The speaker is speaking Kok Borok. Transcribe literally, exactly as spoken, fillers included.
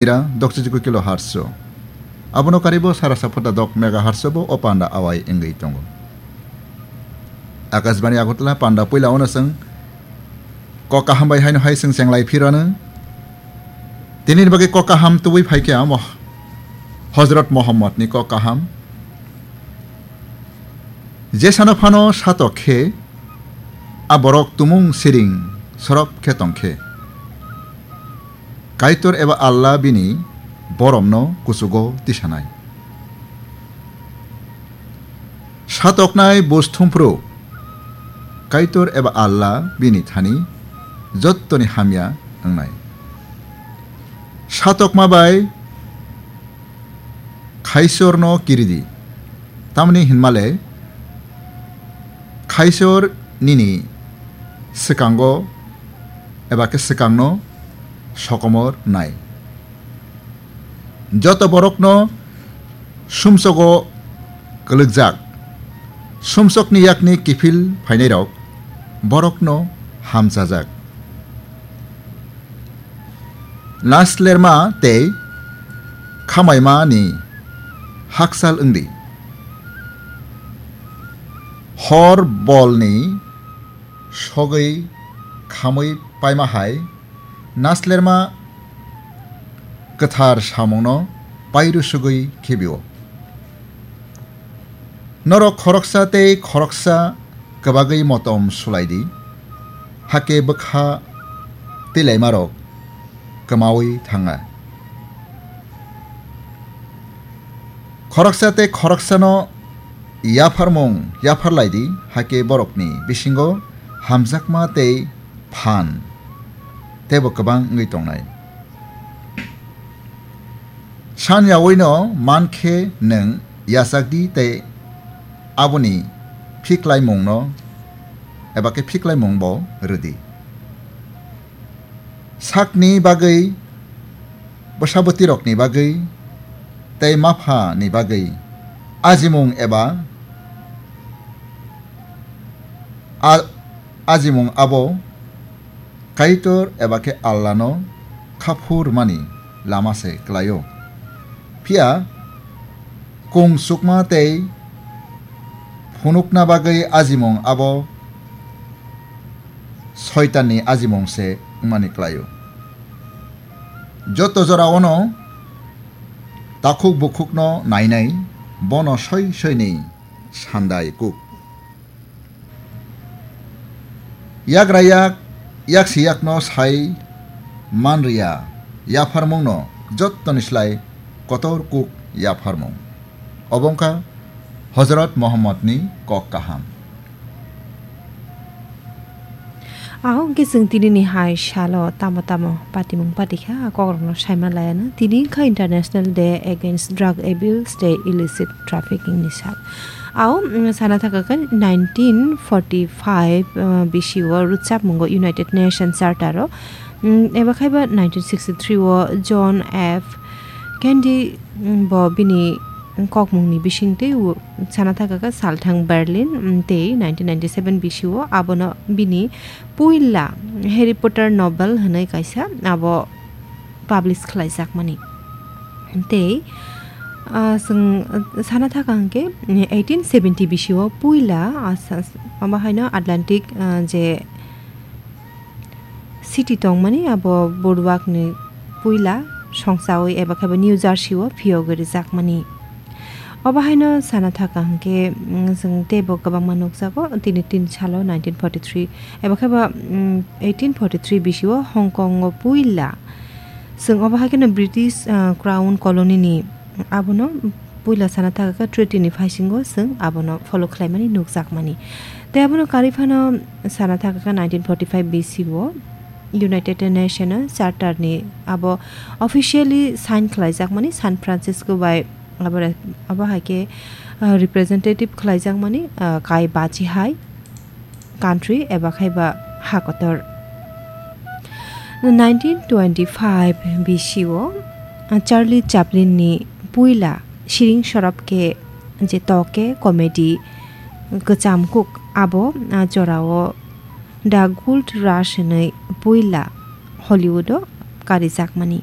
Mira, dokchi jikui kilo harso. Abono karibo sara sapota dok mega harso bo o panda awai wngwi tongo. Akashbani Agartala panda puila ono chwng kok kaham bai haino hai chwng chenglai phirano. Tini ni bagwi kok kaham tubui phaikha mo-, Hozrot Mohammad ni kok kaham. Jesano phano satok khe a borok tumung siring sorop khe tongkhe. Kaitor eba Allah bini boromno kuchugo tisanai. Satoknai buj thumphru Kaitor eba Allah bini thani jottoni hamya wngnai. Satokma bai Khaisorno kiridi. Tamni hinmale Khaisor nini swkango eba khe swkangno sokomor nai. Joto borokno sumsogo kwlwkjak, sumsokni yakni kiphil phainairok borokno hamchajak. Naslerma tei khamaima ni hakchal wngdi. Hor bolni sogwi khamwi paima hai naslerma kwthar samungno pairusugwi khibio. Norok khoroksa tei khoroksa kwbagwi motom sulaidi, hakhe bwkha twilaimarok kwmawi thanga. Khoroksa tei khoroksano yapharmung yapharlaidi, hakhe borokni bisingo hamjakma tei phan teibo kwbang wngwi tongnai. San yawino man khe nwng yachakdi tei aboni phiklaimungno eba khe phiklaimung bo rwdi. Sakni bagwi, bwsabwtirokni bagwi tei maphani bagwi ajimung eba a-, ajimung abo Kaitor eba khe Allano khaphurmani lama se klaio. Phiya kung sukma tei phunukna bagwi ajimung abo Soitanni ajimung se wngmani klaio. Joto joraono takhuk bukhukno nainai, bono soi soini sandai kuk. Yagra yak, yaksi yakno sai manriya, yapharmungno jottoni slai kotor kuk yapharmung. Obo wngkha Hozrot Mohammodni kok kaham. Ahok khe chwng tini ni hai salo tamo tamo patimung patikha, a kokrokno saima laiano. Tini wngkha International Day Against Drug Abuse tei Illicit Trafficking ni sal. Ao, mm, sana thaka khe nineteen forty-five, uh, B C o rwchapmungo United Nations Charter o, mm, eba khai ba nineteen sixty-three o John F Kennedy, mm, bo bini kokmungni bisingtwi u-, sana thaka khe salthang Berlin, mm, tei nineteen ninety-seven B C o abono bini puila Harry Potter novel hwnwi kaisa abo publish khlaijakmani. Tei, ah, chwng, ah, sana thaka hwnkhe eighteen seventy B C o puila, ah, sa-, abo haino Atlantic, ah, je city tongmani abo Boardwalkni puila songchawi eba khe bo New Jersey o phiyogwi rwjakmani. Obo haino sana thaka hwnkhe, mm, chwng teibo kwbangma nukjago, tini tin salo nineteen forty-three eba khe bo, mm, eighteen forty-three B C o Hong Kong o puila chwng obo hai kheno British, ah, Crown Colony ni abono puila sana thaka khe treaty ni phaisingo chwng abono follow khlaimani nukjakmani. Tei abono karwi phano sana thaka khe nineteen forty-five B C o United Nation Charter ni abo officially sign khlaijakmani San Francisco bai abo re-, abo hai khe, ah, representative khlaijakmani, ah, kai bachi hai country eba khai ba ha kotor. Nineteen twenty-five B C o, ah, Charlie Chaplin ni puila siring sorop khe je toke comedy kwcham kuk abo, ah, jorao The Gold Rush hwnwi puila Hollywood o karijakmani.